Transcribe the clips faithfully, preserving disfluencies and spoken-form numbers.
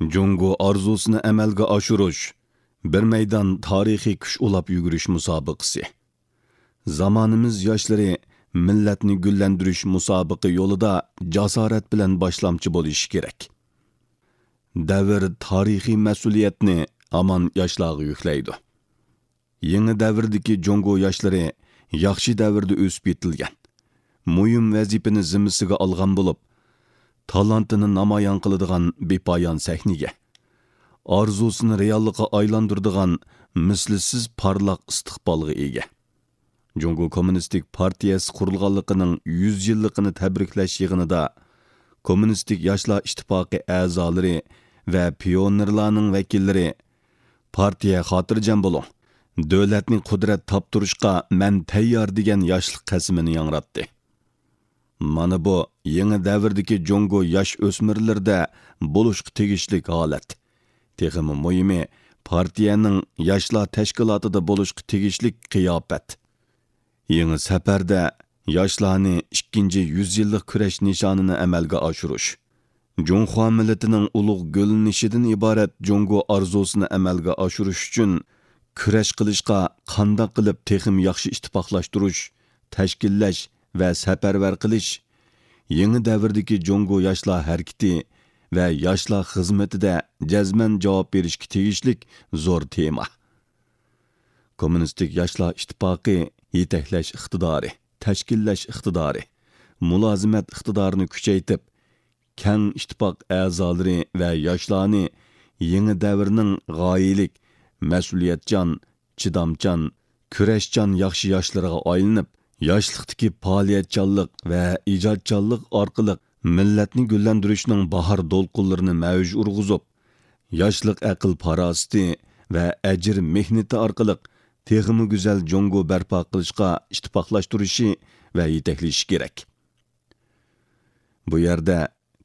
جۇڭگو ئارزۇسىنى ئەمەلگە ئاشۇرۇش، بىر مەيدان تارىخىي كۈچ ئۇلاپ يۈگۈرۈش مۇسابىقىسى. زامانىمىز ياشلىرى مىللەتنى گۈللەندۈرۈش مۇسابىقە يولىدا جاسارەت بىلەن باشلامچى بولۇشى كېرەك. دەۋر تارىخىي مەسئۇلىيەتنى ھامان ياشلارغا يۈكلەيدۇ. يېڭى دەۋردىكى جۇڭگو ياشلىرى ياخشى دەۋردە ئۆسۈپ يېتىلگەن، مۇھىم ۋەزىپىنى زىممىسىگە ئالغان بولۇپ، تالانتىنى نامايان قىلىدىغان بىپايان سەھنىگە، ئارزۇسىنى رېئاللىققا ئايلاندۇرىدىغان مىسلىسىز پارلاق ئىستىقبالغا ئىگە. جۇڭگو كوممۇنىستىك پارتىيەسى قۇرۇلغانلىقىنىڭ يۈز يىللىقىنى تەبرىكلەش يىغىنىدا كوممۇنىستىك ياشلار ئىتتىپاقى ئەزالىرى ۋە پىيونېرلارنىڭ ۋەكىللىرى، پارتىيە خاتىرجەم بولۇڭ، دۆلەتنى قۇدرەت تاپتۇرۇشقا مەن تەييار دېگەن ياشلىق قەسىمىنى ياڭراتتى. مانا بۇ يېڭى دەۋردىكى جۇڭگو ياش ئۆسمۈرلىرىدە بولۇشقا تېگىشلىك ھالەت. تېخىمۇ مۇھىمى، پارتىيەنىڭ ياشلار تەشكىلاتىدا بولۇشقا تېگىشلىك قىياپەت. يېڭى سەپەردە ياشلارنى ئىككىنچى يۈز يىللىق كۈرەش نىشانىنى ئەمەلگە ئاشۇرۇش، جۇڭخۇا مىللىتىنىڭ ئۇلۇغ گۈللىنىشىدىن ئىبارەت جۇڭگو ئارزۇسىنى ئەمەلگە ئاشۇرۇش ئۈچۈن كۈرەش قىلىشقا قانداق قىلىپ تېخىمۇ ياخشى ئىتتىپاقلاشتۇرۇش، تەشكىللەش ۋە سەپەرۋەر قىلىش، يېڭى دەۋردىكى جۇڭگو ياشلار ھەرىكىتى ۋە ياشلار خىزمىتىدە جەزمەن جاۋاب بېرىشكە تېگىشلىك زور تېما. كوممۇنىستىك ياشلار ئىتتىپاقى يېتەكلەش ئىقتىدارى، تەشكىللەش ئىقتىدارى، مۇلازىمەت ئىقتىدارىنى كۈچەيتىپ، كەڭ ئىتتىپاق ئەزالىرى ۋە ياشلارنى يېڭى دەۋرنىڭ غايىلىك، مەسئۇلىيەتچان، چىدامچان، كۈرەشچان ياخشى ياشلىرىغا ئايلىنىپ، ياشلىقتىكى پائالىيەتچانلىق ۋە ئىجادچانلىق ئارقىلىق مىللەتنى گۈللەندۈرۈشنىڭ باھار دولقۇنلىرىنى مەۋج ئۇرغۇزۇپ، ياشلىق ئەقىل-پاراسىتى ۋە ئەجىر مېھنىتى ئارقىلىق تېخىمۇ گۈزەل جۇڭگو بەرپا قىلىشقا ئىتتىپاقلاشتۇرۇشى ۋە يېتەكلىشى كېرەك. بۇ يەردە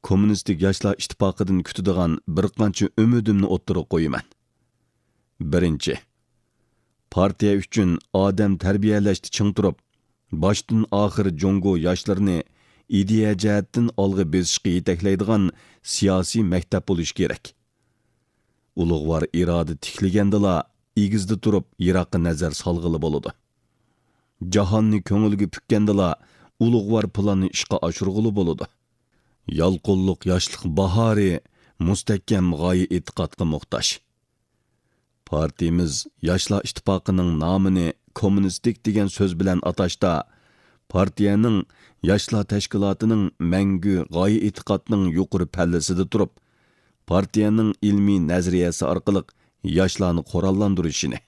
كوممۇنىستىك ياشلار ئىتتىپاقىدىن كۈتىدىغان بىر قانچە ئۈمىدىمنى ئوتتۇرىغا قويىمەن. بىرىنچى، پارتىيە ئۈچۈن ئادەم تەربىيەلەشتە چىڭ تۇرۇپ، باشتىن ئاخىر جۇڭگو ياشلىرىنى ئىدىيە جەھەتتىن ئالغا بېسىشقا يېتەكلەيدىغان سىياسىي مەكتەپ بولۇشى كېرەك. ئۇلۇغۋار ئىرادە تىكلىگەندىلا، ئېگىزدە تۇرۇپ يىراققا نەزەر سالغىلى بولىدۇ. جاھاننى كۆڭۈلگە پۈككەندىلا، ئۇلۇغۋار پىلاننى ئىشقا ئاشۇرغىلى بولىدۇ. يالقۇنلۇق ياشلىق باھارى مۇستەھكەم غايە ئېتىقادقا موھتاج. پارتىيىمىز ياشلار ئىتتىپاقىنىڭ نامىنى كوممۇنىستىك دېگەن سۆز بىلەن ئاتاشتا، پارتىيەنىڭ ياشلار تەشكىلاتىنىڭ مەڭگۈ غايە ئېتىقادنىڭ يۇقىرى پەللىسىدە تۇرۇپ، پارتىيەنىڭ ئىلمىي نەزەرىيەسى ئارقىلىق ياشلارنى قوراللاندۇرۇشىنى،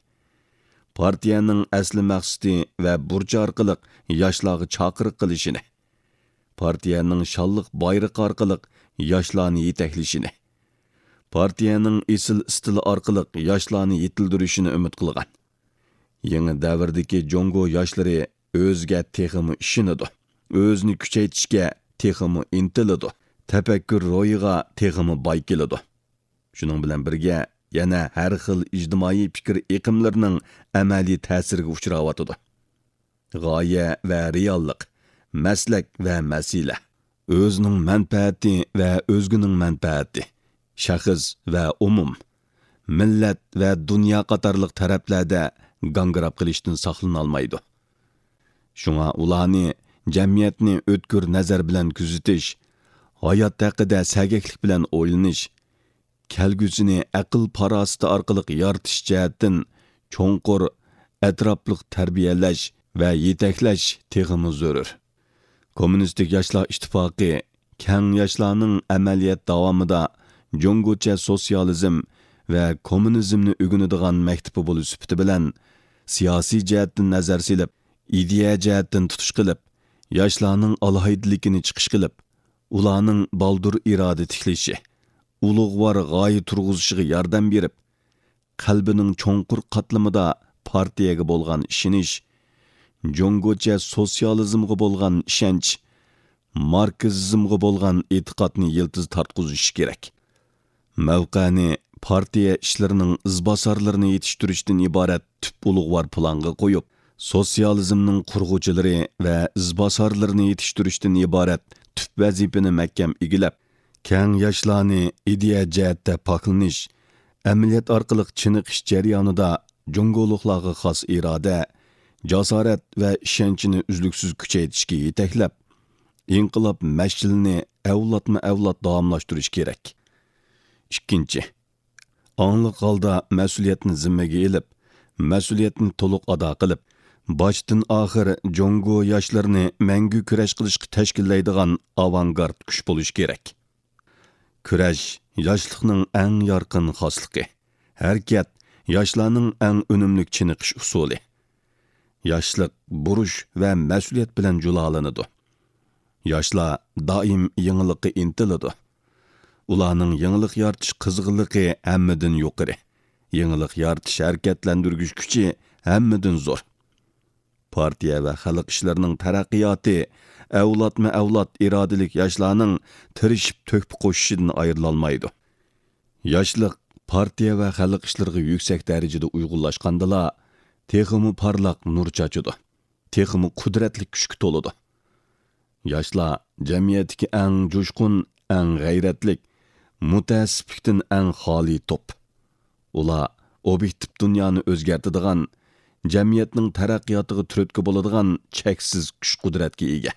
پارتىيەنىڭ ئەسلى مەقسىتى ۋە بۇرچى ئارقىلىق ياشلارغا چاقىرىق قىلىشىنى، پارتىيەنىڭ شانلىق بايرىقى ئارقىلىق ياشلارنى يېتەكلىشىنى، پارتىيەنىڭ ئېسىل ئىستىلى ئارقىلىق ياشلارنى يېتىلدۈرۈشىنى ئۈمىد قىلغان. يېڭى دەۋردىكى جۇڭگو ياشلىرى ئۆزىگە تېخىمۇ ئىشىنىدۇ، ئۆزىنى كۈچەيتىشكە تېخىمۇ ئىنتىلىدۇ، تەپەككۇر روھىغا تېخىمۇ باي كېلىدۇ. شۇنىڭ بىلەن بىرگە، يەنە ھەر خىل ئىجتىمائىي پىكىر ئېقىملىرىنىڭ ئەمەلىي تەسىرىگە ئۇچراۋاتىدۇ. غايە ۋە رېئاللىق، مەسلەك ۋە مەسىلە، ئۆزىنىڭ مەنپەئەتى ۋە ئۆزگىنىڭ مەنپەئەتى، شەخس ۋە ئومۇم، مىللەت ۋە دۇنيا قاتارلىق تەرەپلەردە گاڭگىراپ قېلىشتىن ساقلىنالمايدۇ. شۇڭا ئۇلارنى جەمئىيەتنى ئۆتكۈر نەزەر بىلەن كۆزىتىش، ھايات ھەققىدە سەگەكلىك بىلەن ئويلىنىش، كەلگۈسىنى ئەقىل-پاراسىتى ئارقىلىق يارىتىش جەھەتتىن چوڭقۇر، ئەتراپلىق تەربىيەلەش ۋە يېتەكلەش تېخىمۇ زۆرۈر. كوممۇنىستىك ياشلار ئىتتىپاقى كەڭ ياشلارنىڭ ئەمەلىيەت داۋامىدا جۇڭگوچە سوتسىيالىزم ۋە كوممۇنىزمنى ئۆگىنىدىغان مەكتىپى بولۇش سۈپىتى بىلەن، سىياسىي جەھەتتىن نەزەر سېلىپ، ئىدىيە جەھەتتىن تۇتۇش قىلىپ، ياشلارنىڭ ئالاھىدىلىكىنى چىقىش قىلىپ، ئۇلارنىڭ بالدۇر ئىرادە تىكلىشى، ئۇلۇغۋار غايە تۇرغۇزۇشىغا ياردەم بېرىپ، قەلبىنىڭ چوڭقۇر قاتلىمىدا پارتىيەگە بولغان ئىشىنىش، جۇڭگوچە سوتسىيالىزمغا بولغان ئىشەنچ، ماركسىزمغا بولغان ئېتىقادنى يىلتىز تارتقۇزۇشى كېرەك. مەۋقەنى پارتىيە ئىشلىرىنىڭ ئىزباسارلىرىنى يېتىشتۈرۈشتىن ئىبارەت تۈپ ئۇلۇغۋار پىلانغا قويۇپ، سوتسىيالىزمنىڭ قۇرغۇچىلىرى ۋە ئىزباسارلىرىنى يېتىشتۈرۈشتىن ئىبارەت تۈپ ۋەزىپىنى مەھكەم ئىگىلەپ، كەڭ ياشلارنى ئىدىيە جەھەتتە پاكلىنىش، ئەمەلىيەت ئارقىلىق چېنىقىش جەريانىدا جۇڭگولۇقلارغا خاس ئىرادە، جاسارەت ۋە ئىشەنچنى ئۈزلۈكسىز كۈچەيتىشكە يېتەكلەپ، ئىنقىلاب مەشئىلىنى ئەۋلادمۇ ئەۋلاد داۋاملاشتۇرۇش كېرەك. ئىككىنچى، ئاڭلىق ھالدا مەسئۇلىيەتنى زىممىگە ئېلىپ، مەسئۇلىيەتنى تولۇق ئادا قىلىپ، باشتىن ئاخىر جۇڭگو ياشلىرىنى مەڭگۈ كۈرەش قىلىشقا تەشكىللەيدىغان ئاۋانگارت كۈچ بولۇش كېرەك. كۈرەش ياشلىقنىڭ ئەڭ يارقىن خاسلىقى. ھەرىكەت ياشلارنىڭ ئەڭ ئۈنۈملۈك چېنىقىش ئۇسۇلى. ياشلىق بۇرچ ۋە مەسئۇلىيەت بىلەن جۇلالىنىدۇ. ياشلار دائىم يېڭىلىققا ئىنتىلىدۇ. ئۇلارنىڭ يېڭىلىق يارىتىش قىزغىنلىقى ھەممىدىن يۇقىرى. يېڭىلىق يارىتىش ھەرىكەتلەندۈرگۈچ كۈچى ھەممىدىن زور. پارتىيە ۋە خەلق ئىشلىرىنىڭ تەرەققىياتى ئەۋلادمۇ ئەۋلاد ئىرادىلىك ياشلارنىڭ تىرىشىپ تۆھپە قوشۇشىدىن ئايرىلالمايدۇ. ياشلىق پارتىيە ۋە خەلق ئىشلىرىغا يۈكسەك دەرىجىدە ئۇيغۇنلاشقاندىلا، تېخىمۇ پارلاق نۇر چاچىدۇ، تېخىمۇ قۇدرەتلىك كۈچكە تولىدۇ. ياشلار جەمئىيەتتىكى ئەڭ جۇشقۇن، ئەڭ غەيرەتلىك، مۇتەئەسسىپلىكتىن ئەڭ خالىي توپ. ئۇلار ئوبيېكتىپ دۇنيانى ئۆزگەرتىدىغان، جەمئىيەتنىڭ تەرەققىياتىغا تۈرتكە بولىدىغان چەكسىز كۈچ-قۇدرەتكە ئىگە.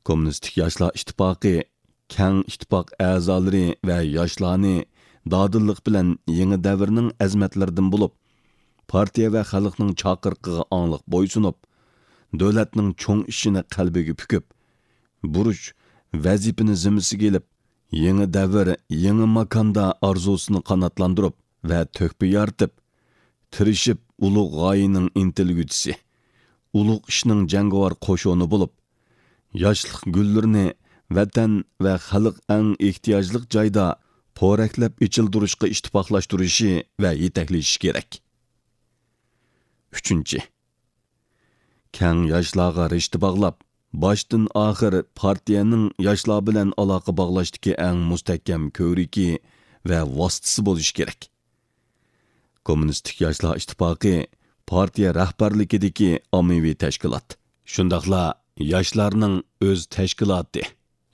كوممۇنىستىك ياشلار ئىتتىپاقى كەڭ ئىتتىپاق ئەزالىرى ۋە ياشلارنى دادىللىق بىلەن يېڭى دەۋرنىڭ ئەزىمەتلىرىدىن بولۇپ، پارتىيە ۋە خەلقنىڭ چاقىرىقىغا ئاڭلىق بويسۇنۇپ، دۆلەتنىڭ چوڭ ئىشىنى قەلبىگە پۈكۈپ، بۇرچ، ۋەزىپىنى زىممىسىگە ئېلىپ، يېڭى دەۋر، يېڭى ماكاندا ئارزۇسىنى قاناتلاندۇرۇپ ۋە تۆھپە يارىتىپ، تىرىشىپ ئۇلۇغ غايىنىڭ ئىنتىلگۈچىسى، ئۇلۇغ ئىشنىڭ جەڭگىۋار قوشۇنى بولۇپ، ياشلىق گۈللىرىنى ۋەتەن ۋە خەلق ئەڭ ئېھتىياجلىق جايدا پورەكلەپ ئېچىلدۇرۇشقا ئىتتىپاقلاشتۇرۇشى ۋە يېتەكلىشى كېرەك. ئۈچىنچى، كەڭ ياشلارغا رىشتە باغلاپ، باشتىن ئاخىر پارتىيەنىڭ ياشلار بىلەن ئالاقە باغلاشتىكى ئەڭ مۇستەھكەم كۆۋرۈكى ۋە ۋاسىتىسى بولۇشى كېرەك. كوممۇنىستىك ياشلار ئىتتىپاقى پارتىيە رەھبەرلىكىدىكى ئاممىۋى تەشكىلات، شۇنداقلا ياشلارنىڭ ئۆز تەشكىلاتى.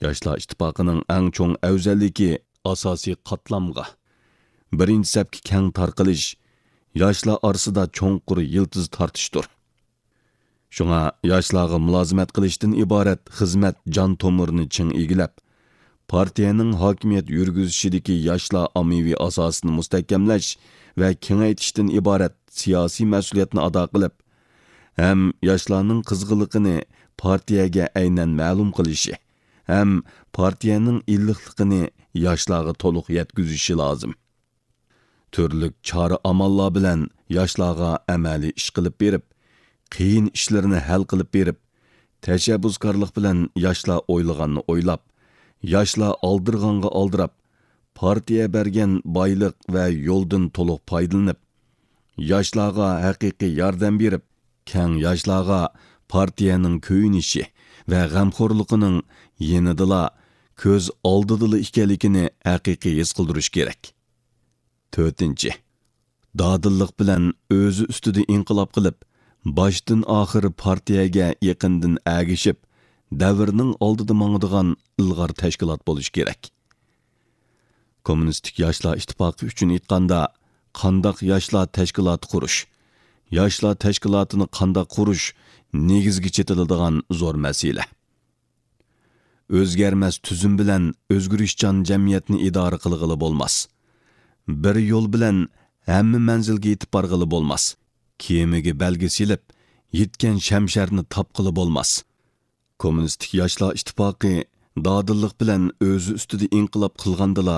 ياشلار ئىتتىپاقىنىڭ ئەڭ چوڭ ئەۋزەللىكى ئاساسىي قاتلامغا، بىرىنچى سەپكە كەڭ تارقىلىش، ياشلار ئارىسىدا چوڭقۇر يىلتىز تارتىشتۇر. شۇڭا ياشلارغا مۇلازىمەت قىلىشتىن ئىبارەت خىزمەت جان تومۇرىنى چىڭ ئىگىلەپ، پارتىيەنىڭ ھاكىمىيەت يۈرگۈزۈشىدىكى ياشلار ئاممىۋى ئاساسىنى مۇستەھكەملەش ۋە كېڭەيتىشتىن ئىبارەت سىياسىي مەسئۇلىيەتنى ئادا قىلىپ، ھەم ياشلارنىڭ قىزغىنلىقىنى پارتىيەگە ئەينەن مەلۇم قىلىشى، ھەم پارتىيەنىڭ ئىللىقلىقىنى ياشلارغا تولۇق يەتكۈزۈشى لازىم. تۈرلۈك چارە-ئاماللار بىلەن ياشلارغا ئەمەلىي ئىش قىلىپ بېرىپ، قىيىن ئىشلىرىنى ھەل قىلىپ بېرىپ، تەشەببۇسكارلىق بىلەن ياشلار ئويلىغاننى ئويلاپ، ياشلار ئالدىرىغانغا ئالدىراپ، پارتىيە بەرگەن بايلىق ۋە يولدىن تولۇق پايدىلىنىپ، ياشلارغا ھەقىقىي ياردەم بېرىپ، كەڭ ياشلارغا پارتىيەنىڭ كۆيۈنۈشى ۋە غەمخورلۇقىنىڭ يېنىدىلا كۆز ئالدىدىلا ئىكەنلىكىنى ھەقىقىي ھېس قىلدۇرۇش كېرەك. تۆتىنچى، دادىللىق بىلەن ئۆزى ئۈستىدە ئىنقىلاب قىلىپ، باشتىن ئاخىر پارتىيەگە يېقىندىن ئەگىشىپ، دەۋرنىڭ ئالدىدا ماڭىدىغان ئىلغار تەشكىلات بولۇشى كېرەك. كوممۇنىستىك ياشلار ئىتتىپاقى ئۈچۈن ئېيتقاندا، قانداق ياشلار تەشكىلاتى قۇرۇش، ياشلار تەشكىلاتىنى قانداق قۇرۇش نېگىزگە چېتىلىدىغان زور مەسىلە. ئۆزگەرمەس تۈزۈم بىلەن ئۆزگىرىشچان جەمئىيەتنى ئىدارە قىلغىلى بولماس. بىر يول بىلەن ھەممە مەنزىلگە يېتىپ بارغىلى بولماس. كېمىگە بەلگە سېلىپ، يىتكەن شەمشەرنى تاپقىلى بولماس. كوممۇنىستىك ياشلار ئىتتىپاقى دادىللىق بىلەن ئۆزى ئۈستىدە ئىنقىلاب قىلغاندىلا،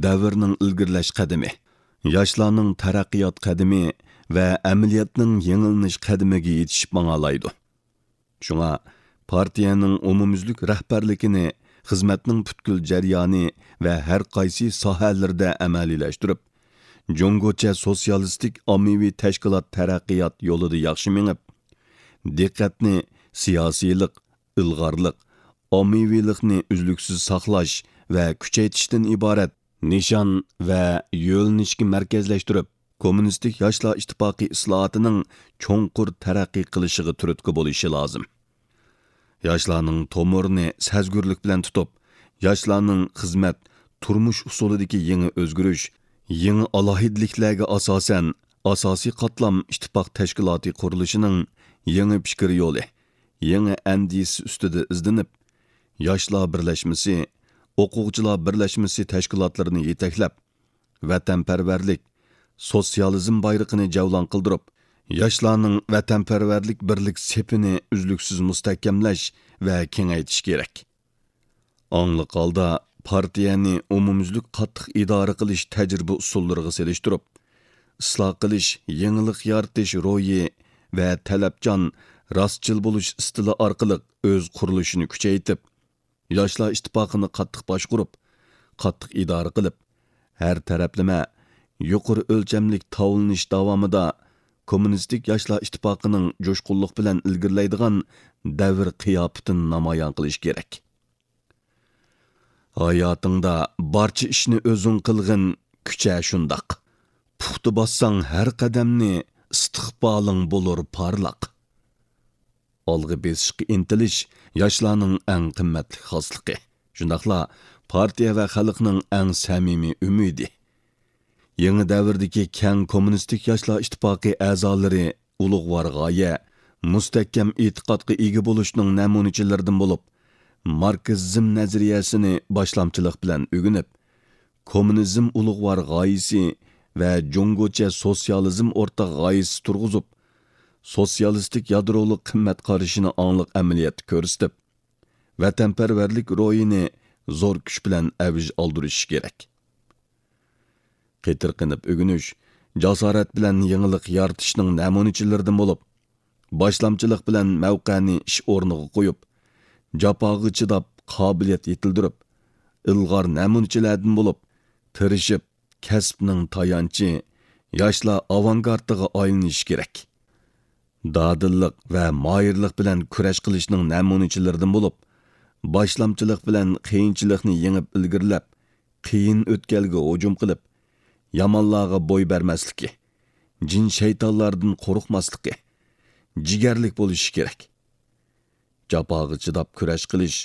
دەۋرنىڭ ئىلگىرىلەش قەدىمى، ياشلارنىڭ تەرەققىيات قەدىمى ۋە ئەمەلىيەتنىڭ يېڭىلىنىش قەدىمىگە يېتىشىپ ماڭالايدۇ. شۇڭا پارتىيەنىڭ ئومۇميۈزلۈك رەھبەرلىكىنى خىزمەتنىڭ پۈتكۈل جەريانى ۋە ھەر قايسى ساھەلىرىدە ئەمەلىيلەشتۈرۈپ، جۇڭگوچە سوتسىيالىستىك ئاممىۋى تەشكىلات تەرەققىيات يولىدا ياخشى مېڭىپ، دىققەتنى سىياسىيلىق، ئىلغارلىق، ئاممىۋىلىقنى ئۈزلۈكسىز ساقلاش ۋە كۈچەيتىشتىن ئىبارەت نىشان ۋە يۆنىلىشكە مەركەزلەشتۈرۈپ، كوممۇنىستىك ياشلار ئىتتىپاقى ئىسلاھاتىنىڭ چوڭقۇر تەرەققىي قىلىشىغا تۈرتكە بولۇشى لازىم. ياشلارنىڭ تومۇرىنى سەزگۈرلۈك بىلەن تۇتۇپ، ياشلارنىڭ خىزمەت، تۇرمۇش ئۇسۇلىدىكى يېڭى ئۆزگىرىش، يېڭى ئالاھىدىلىكلەرگە ئاساسەن، ئاساسىي قاتلام ئىتتىپاق تەشكىلاتى قۇرۇلۇشىنىڭ يېڭى پىكىر يولى، يېڭى ئەندىزىسى ئۈستىدە ئىزدىنىپ، ياشلار بىرلەشمىسى، ئوقۇغۇچىلار بىرلەشمىسى تەشكىلاتلىرىنى يېتەكلەپ، ۋەتەنپەرۋەرلىك، سوتسىيالىزم بايرىقىنى جەۋلان قىلدۇرۇپ، ياشلارنىڭ ۋەتەنپەرۋەرلىك بىرلىك سېپىنى ئۈزلۈكسىز مۇستەھكەملەش ۋە كېڭەيتىش كېرەك. ئاڭلىق ھالدا پارتىيەنى ئومۇميۈزلۈك قاتتىق ئىدارە قىلىش تەجرىبە ئۇسۇللىرىغا سېلىشتۇرۇپ، ئىسلاھ قىلىش، يېڭىلىق يارىتىش روھى ۋە تەلەپچان، راستچىل بولۇش ئىستىلى ئارقىلىق ئۆز قۇرۇلۇشىنى كۈچەيتىپ، ياشلار ئىتتىپاقىنى قاتتىق باشقۇرۇپ، قاتتىق ئىدارە قىلىپ، ھەر تەرەپلىمە، يۇقىرى ئۆلچەملىك تاۋلىنىش داۋامىدا كوممۇنىستىك ياشلار ئىتتىپاقىنىڭ جۇشقۇنلۇق بىلەن ئىلگىرىلەيدىغان دەۋر قىياپىتىنى نامايان قىلىش كېرەك. ھاياتىڭدا بارچە ئىشنى ئۆزۈڭ قىلغىن، كۈچە شۇنداق. پۇختا باسساڭ ھەر قەدەمنى، ئىستىقبالىڭ بولۇر پارلاق. ئالغا بېسىشقا ئىنتىلىش ياشلارنىڭ ئەڭ قىممەتلىك خاسلىقى، شۇنداقلا پارتىيە ۋە خەلقنىڭ ئەڭ سەمىمىي ئۈمىدى. يېڭى دەۋردىكى كەڭ كوممۇنىستىك ياشلار ئىتتىپاقى ئەزالىرى ئۇلۇغۋار غايە، مۇستەھكەم ئېتىقادقا ئىگە بولۇشنىڭ نەمۇنىچىلىرىدىن بولۇپ، ماركسىزم نەزەرىيەسىنى باشلامچىلىق بىلەن ئۆگىنىپ، كوممۇنىزم ئۇلۇغۋار غايىسى ۋە جۇڭگوچە سوتسىيالىزم ئورتاق غايىسى تۇرغۇزۇپ، سوتسىيالىستىك يادرولۇق قىممەت قارىشىنى ئاڭلىق ئەمەلىيەتتە كۆرسىتىپ، ۋەتەنپەرۋەرلىك روھىنى زور كۈچ بىلەن ئەۋج ئالدۇرۇشى كېرەك. قېتىرقىنىپ ئۆگىنىش، جاسارەت بىلەن يېڭىلىق يارىتىشنىڭ نەمۇنىچىلىرىدىن بولۇپ، باشلامچىلىق بىلەن مەۋقەنى ئىش ئورنىغا قويۇپ، جاپاغا چىداپ، قابىلىيەت يېتىلدۈرۈپ، ئىلغار نەمۇنىچىلەردىن بولۇپ، تىرىشىپ، كەسىپنىڭ تايانچى، ياشلار ئاۋانگارتىغا ئايلىنىشى كېرەك. دادىللىق ۋە ماھىرلىق بىلەن كۈرەش قىلىشنىڭ نەمۇنىچىلىرىدىن بولۇپ، باشلامچىلىق بىلەن قىيىنچىلىقنى يېڭىپ ئىلگىرىلەپ، قىيىن ئۆتكەلگە ھۇجۇم قىلىپ، يامانلارغا بوي بەرمەسلىكى، جىن-شەيتانلاردىن قورقماسلىقى، جىگەرلىك بولۇشى كېرەك. جاپاغا چىداپ كۈرەش قىلىش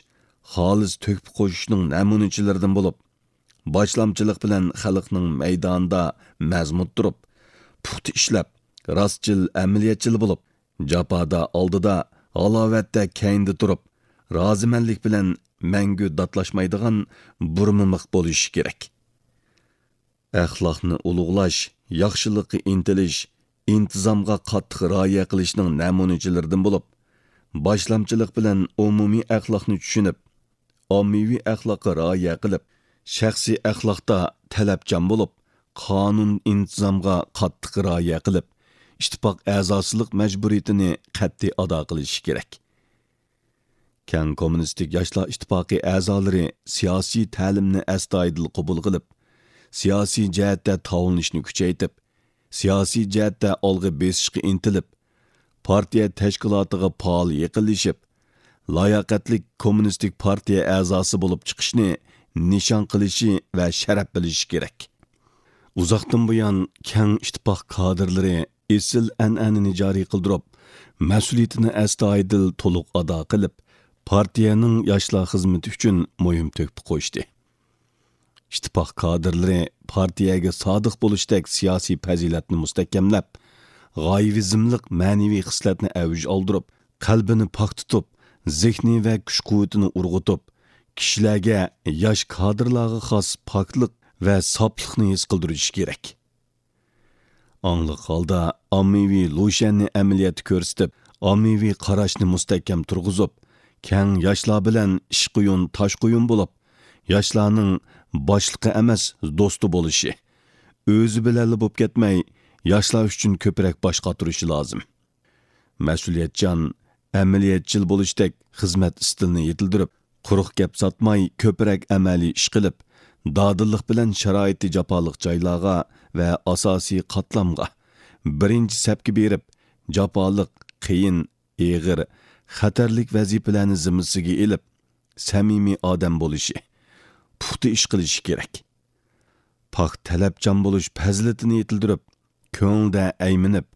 خالىس تۆھپە قوشۇشنىڭ نەمۇنىچىلىرىدىن بولۇپ، باشلامچىلىق بىلەن خەلقنىڭ مەيدانىدا مەزمۇت تۇرۇپ، پۇختا ئىشلەپ، راستچىل، ئەمەلىيەتچىل بولۇپ، جاپادا ئالدىدا، ھالاۋەتتە كەينىدە تۇرۇپ، رازىمەنلىك بىلەن مەڭگۈ داتلاشمايدىغان بۇرمىمىق بولۇشى كېرەك. ئەخلاقنى ئۇلۇغلاش، ياخشىلىققا ئىنتىلىش، ئىنتىزامغا قاتتىق رىئايە قىلىشنىڭ نەمۇنىچىلىرىدىن بولۇپ، باشلامچىلىق بىلەن ئومۇمىي ئەخلاقنى چۈشىنىپ، ئاممىۋى ئەخلاققا رىئايە قىلىپ، شەخسىي ئەخلاقتا تەلەپچان بولۇپ، قانۇن ئىنتىزامغا قاتتىق رىئايە قىلىپ، ئىتتىپاق ئەزاسىلىق مەجبۇرىيىتىنى قەتئىي ئادا قىلىشى كېرەك. كەڭ كوممۇنىستىك ياشلار ئىتتىپاقى ئەزالىرى سىياسىي تەلىمنى ئەستايىدىل قوبۇل قىلىپ، سىياسىي جەھەتتە تاۋلىنىشنى كۈچەيتىپ، سىياسىي جەھەتتە ئالغا بېسىشقا ئىنتىلىپ، پارتىيە تەشكىلاتىغا پائال يېقىنلىشىپ، لاياقەتلىك كوممۇنىستىك پارتىيە ئەزاسى بولۇپ چىقىشنى نىشان قىلىشى ۋە شەرەپ بىلىشى كېرەك. ئۇزاقتىن بۇيان كەڭ ئىتتىپاق كادىرلىرى ئېسىل ئەنئەنىنى جارى قىلدۇرۇپ، مەسئۇلىيىتىنى ئەستايىدىل تولۇق ئادا قىلىپ، پارتىيەنىڭ ياشلار خىزمىتى ئۈچۈن مۇھىم تۆھپە قوشتى. ئىتتىپاق كادىرلىرى پارتىيەگە سادىق بولۇشتەك سىياسىي پەزىلەتنى مۇستەھكەملەپ، غايىۋىزملىق مەنىۋى خىسلەتنى ئەۋج ئالدۇرۇپ، قەلبىنى پاك تۇتۇپ، زېھنى ۋە كۈچ-قۇۋۋىتىنى ئۇرغۇتۇپ، كىشىلەرگە ياش كادىرلارغا خاس پاكلىق ۋە ساپلىقنى ھېس قىلدۇرۇشى كېرەك. ئاڭلىق ھالدا ئاممىۋى لۇشيەننى ئەمەلىيەتتە كۆرسىتىپ، ئاممىۋى قاراشنى مۇستەھكەم تۇرغۇزۇپ، كەڭ ياشلار بىلەن ئىش قويۇن، تاش قويۇن بولۇپ، ياشلارنىڭ باشلىقى ئەمەس، دوستى بولۇشى، ئۆزى بىلەنلا بولۇپ كەتمەي، ياشلار ئۈچۈن كۆپرەك باش قاتۇرۇشى لازىم. مەسئۇلىيەتچان، ئەمەلىيەتچىل بولۇشتەك خىزمەت ئىستىلىنى يېتىلدۈرۈپ، قۇرۇق گەپ ساتماي، كۆپرەك ئەمەلىي ئىش قىلىپ، دادىللىق بىلەن شارائىتى جاپالىق جايلارغا ۋە ئاساسىي قاتلامغا بىرىنچى سەپكە بېرىپ، جاپالىق، قىيىن، ئېغىر، خەتەرلىك ۋەزىپىلەرنى زىممىسىگە ئېلىپ، سەمىمىي ئادەم بولۇشى، پۇختا ئىش قىلىشى كېرەك. پاك تەلەپچان بولۇش پەزىلىتىنى يېتىلدۈرۈپ، كۆڭلىدە ئەيمىنىپ،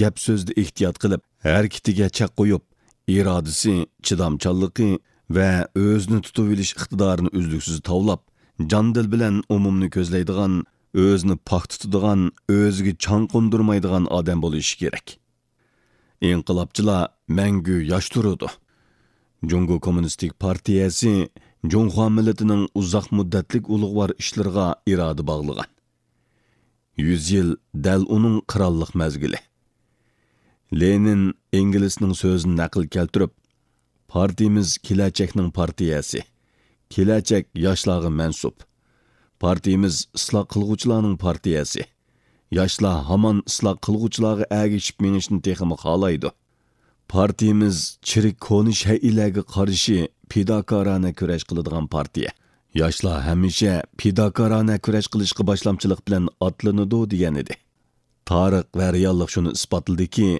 گەپ-سۆزدە ئېھتىيات قىلىپ، ھەرىكىتىگە چەك قويۇپ، ئىرادىسى، چىدامچانلىقى، ۋە ئۆزىنى تۇتۇۋېلىش ئىقتىدارىنى ئۈزلۈكسىز تاۋلاپ، جان-دىل بىلەن ئومۇمنى كۆزلەيدىغان، ئۆزىنى پاك تۇتىدىغان، ئۆزىگە چاڭ قوندۇرمايدىغان ئادەم بولۇشى كېرەك. ئىنقىلابچىلار مەڭگۈ ياش تۇرىدۇ. جۇڭگو كوممۇنىستىك پارتىيەسى جۇڭخۇا مىللىتىنىڭ ئۇزاق مۇددەتلىك ئۇلۇغۋار ئىشلىرىغا ئىرادە باغلىغان. يۈز يىل دەل ئۇنىڭ قىرانلىق مەزگىلى. لېنىن ئېنگېلسنىڭ سۆزىنى نەقىل كەلتۈرۈپ، پارتىيىمىز كېلەچەكنىڭ پارتىيەسى. كېلەچەك ياشلارغا مەنسۇپ. پارتىيىمىز ئىسلاھ قىلغۇچىلارنىڭ پارتىيەسى. ياشلار ھامان ئىسلاھ قىلغۇچىلارغا ئەگىشىپ مېڭىشنى تېخىمۇ خالايدۇ. پارتىيىمىز چىرىك كونا شەيئىلەرگە قارشى پىداكارانە كۈرەش قىلىدىغان پارتىيە. ياشلار ھەمىشە پىداكارانە كۈرەش قىلىشقا باشلامچىلىق بىلەن ئاتلىنىدۇ دېگەنىدى. تارىخ ۋە رېئاللىق شۇنى ئىسپاتلىدىكى،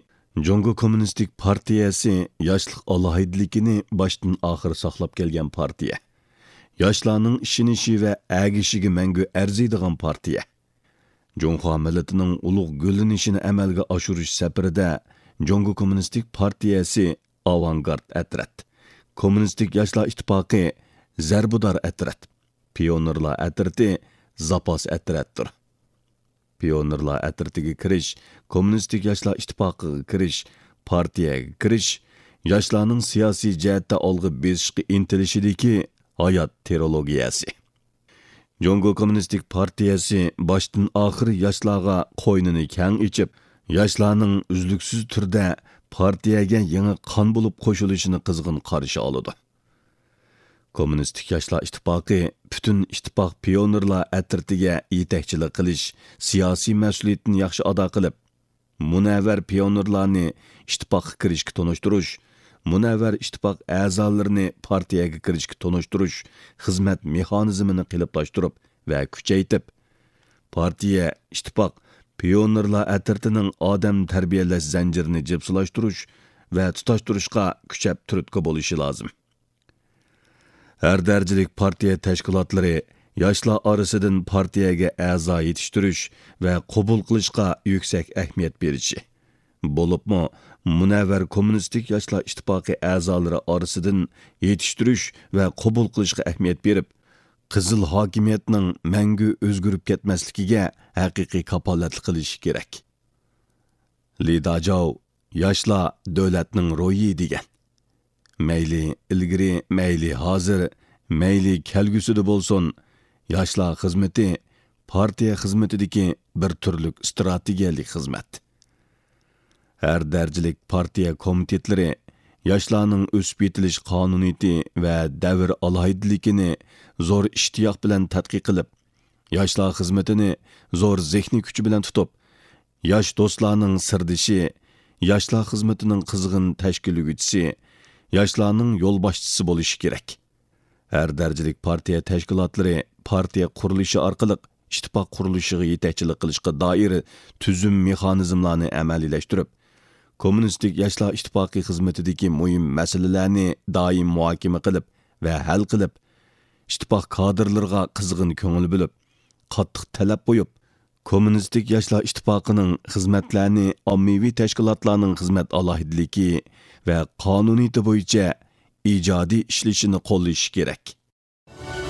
جۇڭگو كوممۇنىستىك پارتىيەسى ياشلىق ئالاھىدىلىكىنى باشتىن ئاخىر ساقلاپ كەلگەن پارتىيە. ياشلارنىڭ ئىشىنىشى ۋە ئەگىشىگە مەڭگۈ ئەرزىيدىغان پارتىيە. جۇڭخۇا مىللىتىنىڭ ئۇلۇغ گۈللىنىشىنى ئەمەلگە ئاشۇرۇش سەپىرىدە جۇڭگو كوممۇنىستىك پارتىيەسى ئاۋانگارت ئەترەت، كوممۇنىستىك ياشلار ئىتتىپاقى زەربىدار ئەترەت، پىيونېرلار ئەترىتى زاپاس ئەترەتتۇر. پىيونېرلار ئەترىتىگە كىرىش، كوممۇنىستىك ياشلار ئىتتىپاقىغا كىرىش، پارتىيەگە كىرىش، ياشلارنىڭ سىياسىي جەھەتتە ئالغا بېسىشقا ئىنتىلىشىدىكى ھايات تىرولوگىيەسى. جۇڭگو كوممۇنىستىك پارتىيەسى باشتىن ئاخىر ياشلارغا قوينىنى كەڭ ئېچىپ، ياشلارنىڭ ئۈزلۈكسىز تۈردە پارتىيەگە يېڭى قان بولۇپ قوشۇلۇشىنى قىزغىن قارشى ئالىدۇ. كوممۇنىستىك ياشلار ئىتتىپاقى پۈتۈن ئىتتىپاق پىيونېرلار ئەترىتىگە يېتەكچىلىك قىلىش سىياسىي مەسئۇلىيىتىنى ياخشى ئادا قىلىپ، مۇنەۋۋەر پىيونېرلارنى ئىتتىپاققا كىرىشكە تونۇشتۇرۇش، مۇنەۋۋەر ئىتتىپاق ئەزالىرىنى پارتىيەگە كىرىشكە تونۇشتۇرۇش خىزمەت مېخانىزمىنى قېلىپلاشتۇرۇپ ۋە كۈچەيتىپ، پارتىيە، ئىتتىپاق، پىيونېرلار ئەترىتىنىڭ ئادەم تەربىيەلەش زەنجىرىنى جىپسىلاشتۇرۇش ۋە تۇتاشتۇرۇشقا كۈچەپ تۈرتكە بولۇشى لازىم. ھەر دەرىجىلىك پارتىيە تەشكىلاتلىرى ياشلار ئارىسىدىن پارتىيەگە ئەزا يېتىشتۈرۈش ۋە قوبۇل قىلىشقا يۈكسەك ئەھمىيەت بېرىشى، بولۇپمۇ مۇنەۋۋەر كوممۇنىستىك ياشلار ئىتتىپاقى ئەزالىرى ئارىسىدىن يېتىشتۈرۈش ۋە قوبۇل قىلىشقا ئەھمىيەت بېرىپ، قىزىل ھاكىمىيەتنىڭ مەڭگۈ ئۆزگىرىپ كەتمەسلىكىگە ھەقىقىي كاپالەتلىك قىلىشى كېرەك. لى داجاۋ، ياشلار دۆلەتنىڭ روھى دېگەن. مەيلى ئىلگىرى، مەيلى ھازىر، مەيلى كەلگۈسىدە بولسۇن، ياشلار خىزمىتى پارتىيە خىزمىتىدىكى بىر تۈرلۈك ئىستراتېگىيەلىك خىزمەت. ھەر دەرىجىلىك پارتىيە كومىتېتلىرى ياشلارنىڭ ئۆسۈپ يېتىلىش قانۇنىيىتى ۋە دەۋر ئالاھىدىلىكىنى زور ئىشتىياق بىلەن تەتقىق قىلىپ، ياشلار خىزمىتىنى زور زېھنىي كۈچى بىلەن تۇتۇپ، ياش دوستلارنىڭ سىردىشى، ياشلار خىزمىتىنىڭ قىزغىن تەشكىللىگۈچىسى، ياشلارنىڭ يولباشچىسى بولۇشى كېرەك. ھەر دەرىجىلىك پارتىيە تەشكىلاتلىرى پارتىيە قۇرۇلۇشى ئارقىلىق ئىتتىپاق قۇرۇلۇشىغا يېتەكچىلىك قىلىشقا دائىر تۈزۈم مېخانىزملارنى ئەمەلىيلەشتۈرۈپ، كوممۇنىستىك ياشلار ئىتتىپاقى خىزمىتىدىكى مۇھىم مەسىلىلەرنى دائىم مۇھاكىمە قىلىپ ۋە ھەل قىلىپ، ئىتتىپاق كادىرلىرىغا قىزغىن كۆڭۈل بۆلۈپ، قاتتىق تەلەپ قويۇپ، كوممۇنىستىك ياشلار ئىتتىپاقىنىڭ خىزمەتلەرنى ئاممىۋى تەشكىلاتلارنىڭ خىزمەت ئالاھىدىلىكى ۋە قانۇنىيىتى بويىچە ئىجادىي ئىشلىشىنى قوللىشى كېرەك.